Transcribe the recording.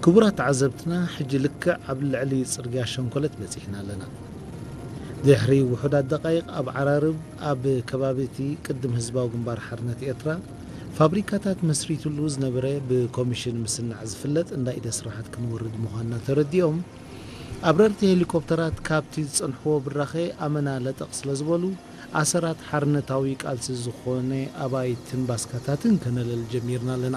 ክቡራት ተዓዘብትና፣ ሕጂ ልክዕ ኣብ ልዕሊ ጽርግያ ሸንኮለት በጺሕና ኣለና። ድሕሪ ውሑዳት ደቃይቕ ኣብ ዓራርብ፣ ኣብ ከባቢ እቲ ቅድም ህዝባዊ ግንባር ሓርነት ኤርትራ ፋብሪካታት መስሪትሉ ዝነበረ ብኮሚሽን ምስናዕ ዝፍለጥ እንዳ ኢደ ስራሓት ክንወርድ ምዃንና ተረዲኦም፣ ኣብረርቲ ሄሊኮፕተራት ካብቲ ዝጸንሕዎ ብራኸ ኣመና ለጠቕ ስለ ዝበሉ፣ ኣሰራት ሓርነታዊ ቃልሲ ዝኾነ ኣባይትን ባስካታትን ከነለል ጀሚርና ኣለና።